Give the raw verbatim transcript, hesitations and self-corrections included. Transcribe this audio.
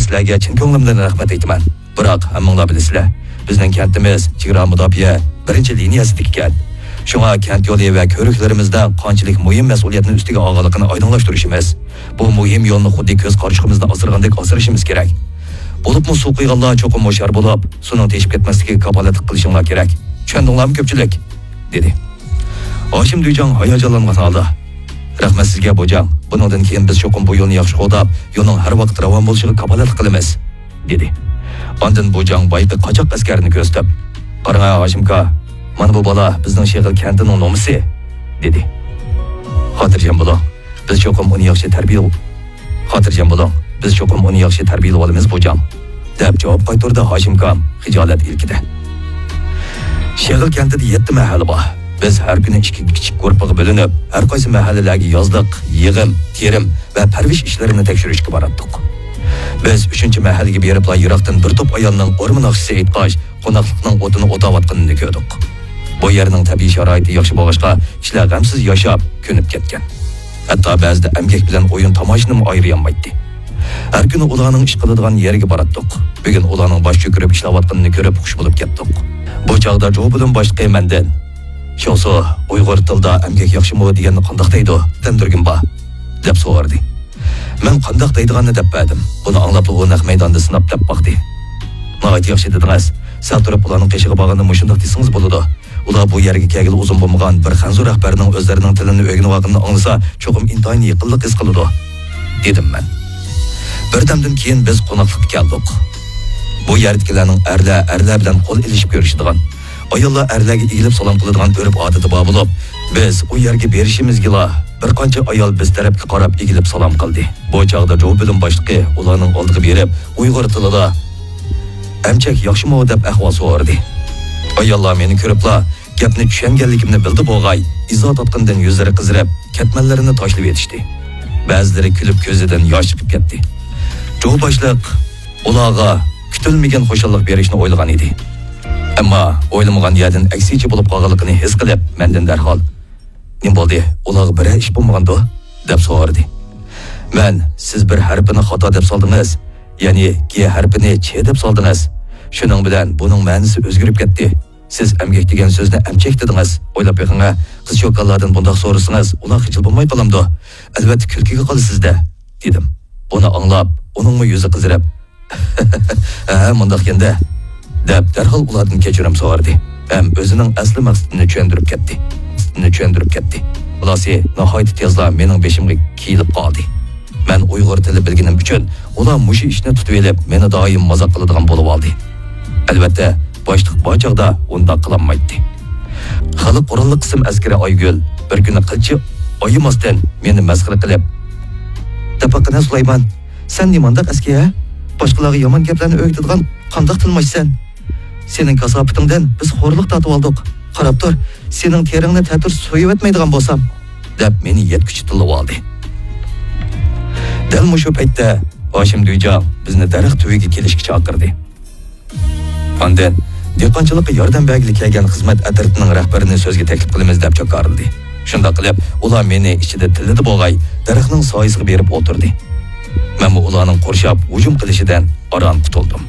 سىلەرگە چىن كۆڭلۈمدىن رەھمەت ئېيتىمەن. بىراق، ھەممىڭلار بىلىسىلەر، بىزنىڭ كەنتىمىز چېگرا مۇداپىئە بىرىنچى لىنىيەسىدىكى كەنت. شۇڭا كەنت يولى ۋە كۆۋرۈكلىرىمىزدا قانچىلىك مۇھىم مەسئۇلىيەتنى ئۈستىگە ئالغانلىقىنى ئايدىڭلاشتۇرۇشىمىز، بۇ مۇھىم يولنى خۇددى كۆز قارىچۇقىمىزنى ئاسرىغاندەك ئاسرىشىمىز كېرەك. بولۇپمۇ سۇ قۇيغانلار چوقۇم ھوشيار بولۇپ، سۇنىڭ تېشىپ كەتمەسلىكىگە كاپالەتلىك قىلىشىڭلار كېرەك. چۈشەندىڭلارمۇ، كۆپچىلىك؟ دېدى. ھاشىم دۈيجاڭ ھاياجانلانغان ھالدا، رەھمەت سىزگە، بوجاڭ. بۇنىڭدىن كېيىن بىز چوقۇم بۇ يولنى ياخشى قوغداپ، يولنىڭ ھەر ۋاقىت راۋان بولۇشىغا كاپالەتلىك قىلىمىز، دېدى. ئاندىن بوجاڭ بايىقى قاچاق ئەسكەرنى كۆرسىتىپ، قاراڭا، ھاشىمكا، مانا بۇ بالا بىزنىڭ شېغىل كەنتىنىڭ نومۇسى، دېدى. خاتىرجەم بولۇڭ، بىز چوقۇم ئۇنى ياخشى تەربىيە، خاتىرجەم بولۇڭ، بىز چوقۇم ئۇنى ياخشى تەربىيەلىۋالىمىز، بوجاڭ، دەپ جاۋاب قايتۇردى ھاشىمكام خىجالەت ئىلكىدە. شېغىل كەنتىدە يەتتە مەھەللە بار. بىز ھەر كۈنى ئىككى كىچىك گۇرۇپپىغا بۆلۈنۈپ، ھەر قايسى مەھەللىلەرگە يازلىق يىغىم، تېرىم ۋە پەرۋىش ئىشلىرىنى تەكشۈرۈشكە باراتتۇق. بىز ئۈچىنچى مەھەللىگە بېرىپلا يىراقتىن بىر توپ ئايالنىڭ ئورما ناخشىسى ئېيتقاچ، قوناقلىقنىڭ ئوتىنى ئوتاۋاتقىنىنى كۆردۇق. بۇ يەرنىڭ تەبىئىي شارائىتى ياخشى بولغاچقا، كىشىلەر غەمسىز ياشاپ، كۆنۈپ كەتكەن. ھەتتا بەزىدە ئەمگەك بىلەن ئويۇن تاماشىنىمۇ ئايرىيالمايتتى. ھەر كۈنى ئۇلارنىڭ ئىش قىلىدىغان يەرگە باراتتۇق. بۈگۈن ئۇلارنىڭ باش چۆكۈرۈپ ئىشلەۋاتقىنىنى كۆرۈپ خۇش بولۇپ كەتتۇق. بۇ چاغدا جو بۆلۈم باشلىقى مەندىن، شياۋسۇ، ئۇيغۇر تىلىدا ئەمگەك ياخشىمۇ دېگەننى قانداق دەيدۇ؟ دەمدۈرگۈم بار، دەپ سورىدى. مەن قانداق دەيدىغاننى دەپ بەردىم. بۇنى ئاڭلاپلا ئۇ نەق مەيداندا سىناپ دەپ باقتى. ناھايىتى ياخشى دېدىڭىز. سەل تۇرۇپ ئۇلارنىڭ قېشىغا بارغاندا مۇشۇنداق دېسىڭىز بولىدۇ. ئۇلار بۇ يەرگە كەلگىلى ئۇزۇن بولمىغان بىر خەنزۇ رەھبەرنىڭ ئۆزلىرىنىڭ تىلىنى ئۆگىنىۋالغىنىنى ئاڭلىسا، چوقۇم ئىنتايىن يېقىنلىق ھېس قىلىدۇ، دېدىم مەن. بىردەمدىن كېيىن بىز قوناقلىققا كەلدۇق. بۇ يەردىكىلەرنىڭ ئەرلەر ئەرلەر بىلەن قول ئېلىشىپ كۆرۈشىدىغان، ئاياللار ئەرلەرگە ئېگىلىپ سالام قىلىدىغان ئۆرپ-ئادىتى بار بولۇپ، بىز ئۇ يەرگە بېرىشىمىزگىلا بىر قانچە ئايال بىز تەرەپكە قاراپ ئېگىلىپ سالام قىلدى. بۇ چاغدا جو بۆلۈم باشلىقى ئۇلارنىڭ ئالدىغا بېرىپ، ئۇيغۇر تىلىدا، «ئەمچەك ياخشىمۇ؟» دەپ ئەھۋال سورىدى. ئاياللار مېنى كۆرۈپلا، گەپنى چۈشەنگەنلىكىمنى بىلدى بوغاي، ئىزا تارتقىنىدىن يۈزلىرى قىزىرىپ، كەتمەنلىرىنى تاشلىۋېتىشتى. بەزىلىرى كۈلۈپ كۆزىدىن ياش چىقىپ كەتتى. جو باشلىق ئۇلارغا كۈتۈلمىگەن خۇشاللىق بېرىشنى ئويلىغان ئىدى. ئەمما ئويلىمىغان يەردىن ئەكسىچە بولۇپ قالغانلىقىنى ھېس قىلىپ، مەندىن دەرھال، «نېمە بولدى؟ ئۇلارغا بىرەر ئىش بولمىغاندۇ؟» دەپ سورىدى. مەن، «سىز بىر ھەرپىنى خاتا دەپ سالدىڭىز، يەنى گ ھەرپىنى چ دەپ سالدىڭىز. شۇنىڭ بىلەن بۇنىڭ مەنىسى ئۆزگىرىپ كەتتى. سىز ئەمگەك دېگەن سۆزنى ئەمچەك دېدىڭىز. ئويلاپ بېقىڭە، قىز-چوكانلاردىن بۇنداق سورىسىڭىز، ئۇلار خىجىل بولماي قالامدۇ؟ ئەلۋەتتە كۈلكىگە قالىسىز-دە»، دېدىم. بۇنى ئاڭلاپ، ئۇنىڭمۇ يۈزى قىزىرىپ، «ھە، مۇنداقكەن-دە» دەپ، دەرھال ئۇلاردىن كەچۈرۈم سورىدى ھەم ئۆزىنىڭ ئەسلى مەقسىتىنى چۈشەندۈرۈپ كەتتى. چۈشەندۈرۈپ كەتتى. خۇلاسى، ناھايىتى تېزلا مېنىڭ بېشىمغا كېيىلىپ قالدى. مەن ئۇيغۇر تىلى بىلگىنىم ئۈچۈن، ئۇلار مۇشۇ ئىشنى تۇتۇۋېلىپ، مېنى دائىم مازاق قىلىدىغان بولۇۋالدى. ئەلۋەتتە، باشلىق بار چاغدا ئۇنداق قىلالمايتتى. خەلق قوراللىق قىسىم ئەسكىرى ئايگۈل بىر كۈنى قىلچە ئايىماستىن مېنى مەسخىرە قىلىپ، «دەپ باققىنە، سۇلايمان، سەن نېمانداق ئەسكى، ھە؟ باشقىلارغا يامان گەپلەرنى ئۆگىتىدىغان قانداق تىلماچسەن؟ سېنىڭ كاساپىتىڭدىن بىز خورلۇق تارتىۋالدۇق. قاراپ تۇر، سېنىڭ تېرىڭنى تەتۈر سويۇۋەتمەيدىغان بولسام» دەپ، مېنى يەتكۈچە تىللىۋالدى. دەل مۇشۇ پەيتتە ھاشىم دۈيجاڭ بىزنى دەرەخ تۈۋىگە كېلىشكە چاقىردى. ئاندىن، «دېھقانچىلىققا ياردەم بەرگىلى كەلگەن خىزمەت ئەترىتىنىڭ رەھبىرىنى سۆزگە تەكلىپ قىلىمىز» دەپ جاكارلىدى. شۇنداق قىلىپ، ئۇلار مېنى ئىچىدە تىللىدى بوغاي، دەرەخنىڭ سايىسىغا بېرىپ ئولتۇردى. مەنمۇ ئۇلارنىڭ قورشاپ ھۇجۇم قىلىشىدىن ئاران قۇتۇلدۇم.